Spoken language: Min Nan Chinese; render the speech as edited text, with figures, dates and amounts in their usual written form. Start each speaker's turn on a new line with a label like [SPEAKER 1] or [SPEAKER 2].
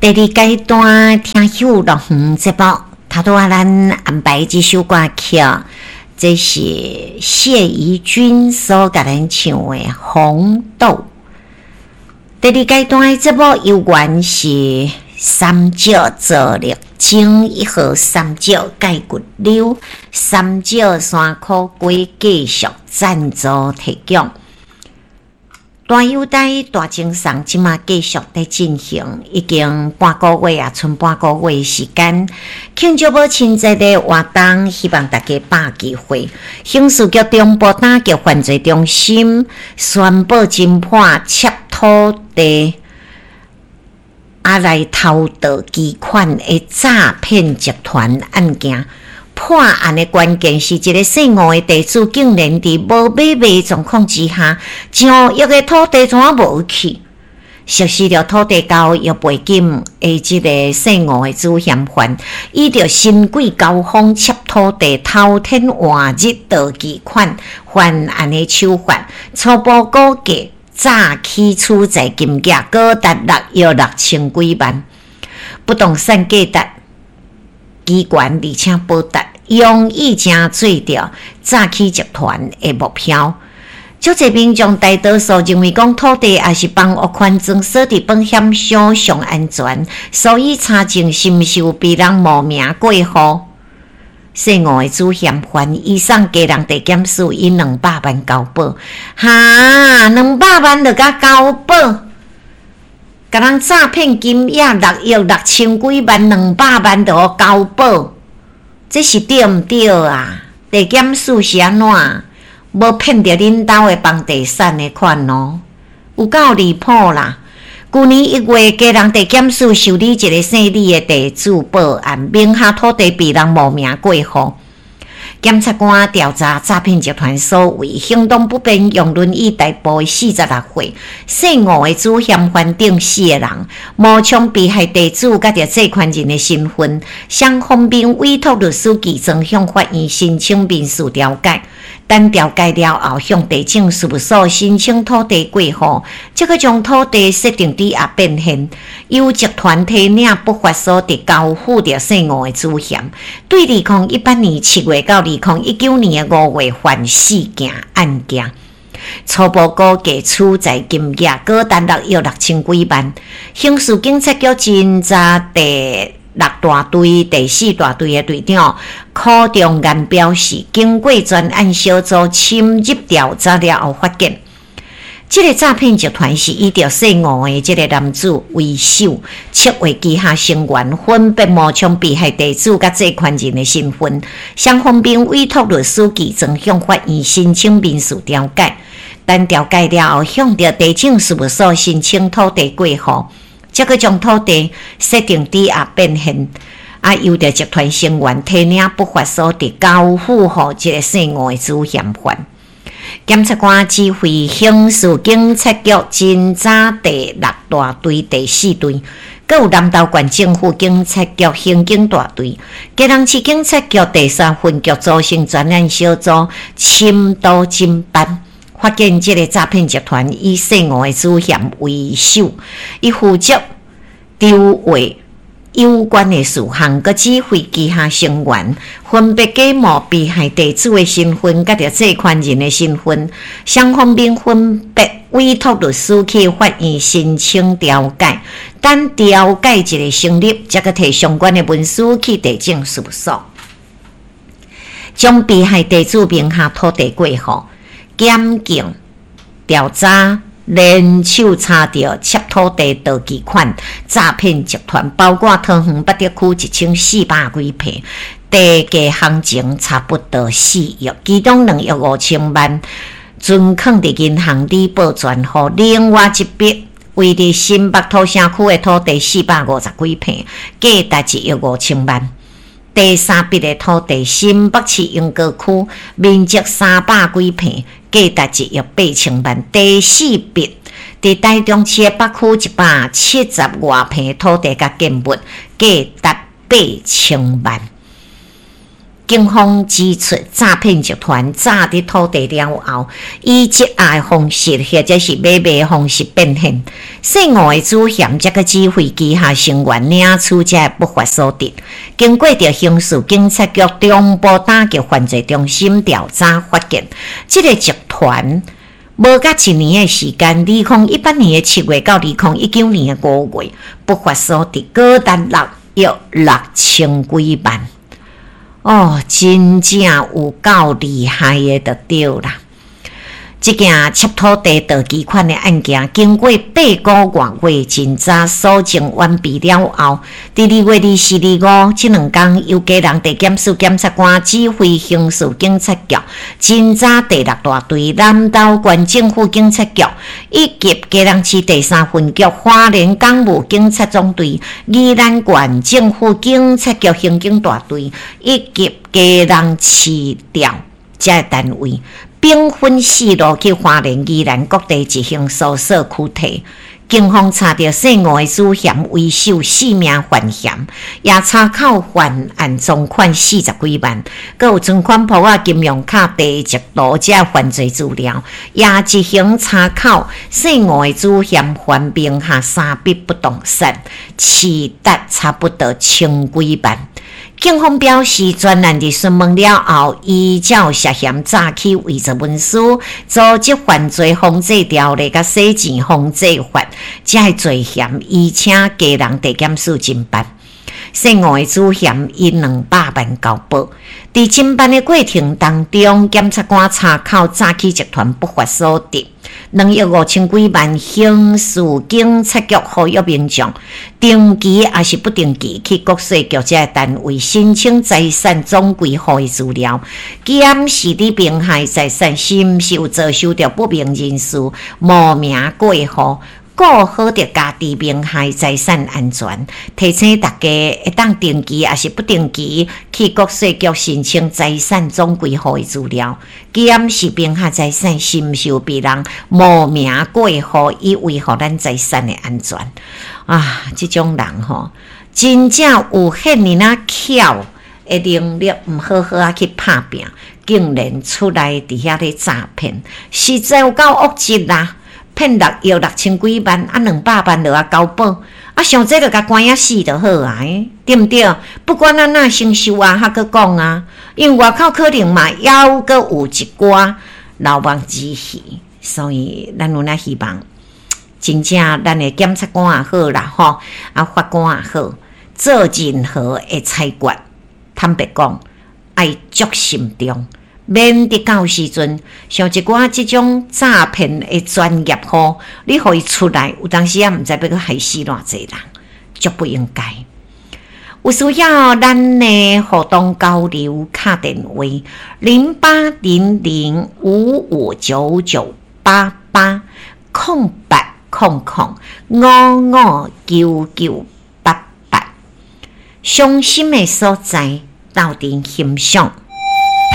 [SPEAKER 1] 第二階段聽秀樂園節目，頭拄仔咱安排這首歌曲，這是謝宜君所共咱唱的《紅豆》。第二階段的節目由原是三石做力爭一號三石蓋骨溜，三石山苦瓜繼續贊助提供。大友台大贈送，這馬繼續佇進行，已經半個月啊，賰半個月時間，慶祝母親節的活動，希望大家把握機會。刑事局中部打擊犯罪中心宣布偵破竊土地啊來偷盜機款的詐騙集團案件。破案的關鍵是一个姓吳的地主，竟然佇無買賣狀況之下，上億的土地怎無去？熟悉著土地交易背景的這个姓吳的主嫌犯，倚著新貴高峰竊土地、偷天換日盜機款犯案的手法，初步估計詐欺取財金額高達6億6千幾萬，不動產價值機懸，而且保值，容易成做著詐欺集團的目標。足濟民眾大多數認為講土地抑是房屋權狀鎖佇保險箱上安全，所以查證是毋是有被人冒名過戶。姓吳的主嫌犯伊送基隆地檢署以200萬交保，哈，兩百萬就共交保，共人詐騙金額6億6千幾萬，兩百萬就予交保，這是對毋對啊？地檢署是按怎？無騙著恁兜的房地產的款哦，有夠離譜啦！舊年1月，基隆地檢署受理一个姓李的地主報案，名下土地被人冒名過戶。檢察官調查詐騙集團所為，行動不便用輪椅代步的46歲姓吳的主嫌犯等四个人，冒充被害地主佮著借款人的身份，雙方面委託律師具狀向法院申請民事調解。等調解了後，向地政事務所申請土地過戶，這閣將土地設定抵押變現，由集團提領不法所得交付著姓吳的主嫌。對2018年7月到2019年5月犯四件案件，初步估計取財金額高達6億6千幾萬。刑事警察局偵查第六大隊第四大隊的隊長柯中岩表示，經過專案小組深入調查了後，發現這個詐騙集團是以著姓吳的這個男子為首，策劃旗下成員分別冒充被害地主佮借款人的身份，雙方面委託律師具狀向法院申請民事調解。等調解了後，向著地政事務所申請土地過戶。才閣將土地設定抵押變現，啊，由著集團成員提領不法所得交付予這個姓吳的主嫌犯。檢察官指揮刑事警察局偵查第六大隊第四隊，閣有南投縣政府警察局刑警大隊、基隆市警察局第三分局組成專案小組，深度偵辦。發現這个詐騙集團以姓吳的主嫌為首，伊負責籌劃有關的事項，閣指揮旗下成員分別假冒被害地主的身份，佮著借款人的身份，雙方面分別委託律師去法院申請調解，等調解一个成立，才閣提相關的文書去地政事務所，將被害地主名下土地過戶。檢警調查，聯手查著竊土地盜機款詐騙集團，包括桃園八德區1400幾坪，地價行情差不多4億，其中2億5千萬存囥佇銀行抵保專戶，另外一筆位佇新北土城區的土地450幾坪，價值1億5千萬。第三筆的土地，新北市鶯歌區面積300幾坪，價值1億8千萬。第四筆，佇台中市的北區170外坪土地佮建物，價值8000萬。警方指出，詐騙集團詐得土地了後，以質押的方式或者是買賣方式變現。姓吳的主嫌才閣指揮旗下成員領取這个不法所得。經過著刑事警察局中部打擊犯罪中心調查，發現這个集團無甲一年的時間，2018年的7月到2019年的5月，不法所得高達6億6千幾萬。哦，真正有夠厲害的，就對啦。這件竊土地盜基款的案件，經過8個外月偵查搜證完畢了後，佇2月24、25這兩工，由基隆地檢署檢察官指揮刑事警察局偵查第六大隊、南投縣政府警察局以及基隆市第三分局、花蓮港務警察總隊、宜蘭縣政府警察局刑警大隊以及基隆市調這个單位，兵分四路去花蓮、宜蘭各地執行搜索驅提。警方查著姓吳的主嫌為首四名犯嫌，也查扣犯案贓款40幾萬，閣有存款簿仔、金融卡、地籍圖這犯罪資料，也執行查扣姓吳的主嫌犯名下三筆不動產，市值差不多千幾萬。警方表示，專案佇詢問了後，依照涉嫌詐欺偽造文書、組織犯罪防制條例佮洗錢防制法，這个罪嫌，移請基隆地檢署偵辦。姓吳的主嫌以200萬交保。佇偵辦的過程當中，檢察官查扣詐欺集團不法所得2億5千幾萬，刑事警察局呼籲民眾定期抑是不定期去國稅局這个單位申請財產總歸戶的資料，檢視你名下的財產是毋是有遭受著不明人士冒名過戶。顧好著家己名下財產安全，提醒大家會當定期抑是不定期去國稅局申請財產總歸戶的資料，檢視名下財產是毋是有被人冒名過戶，以維護咱財產的安全。啊，這種人吼，真正有遐爾仔巧的能力，毋好好仔去拍拚，竟然出來佇遐咧詐騙，實在有夠惡質啦！騙6億6千幾萬，啊200萬就愛交保，啊像這就共關仔死就好啊，對毋對？不管按怎先收押，還閣講啊，因為外口可能嘛猶閣有一寡漏網之魚，所以咱有影希望，真正咱的檢察官也好啦，吼，啊法官也好，做任何的裁決，坦白講，愛足慎重。免得到時陣，像一寡這種詐騙的專業戶，你予伊出來，有當時也毋知欲閣害死偌濟人，足不應該。有需要咱的互動交流，敲電話0800559988 0800559988。傷心的所在，鬥陣欣賞。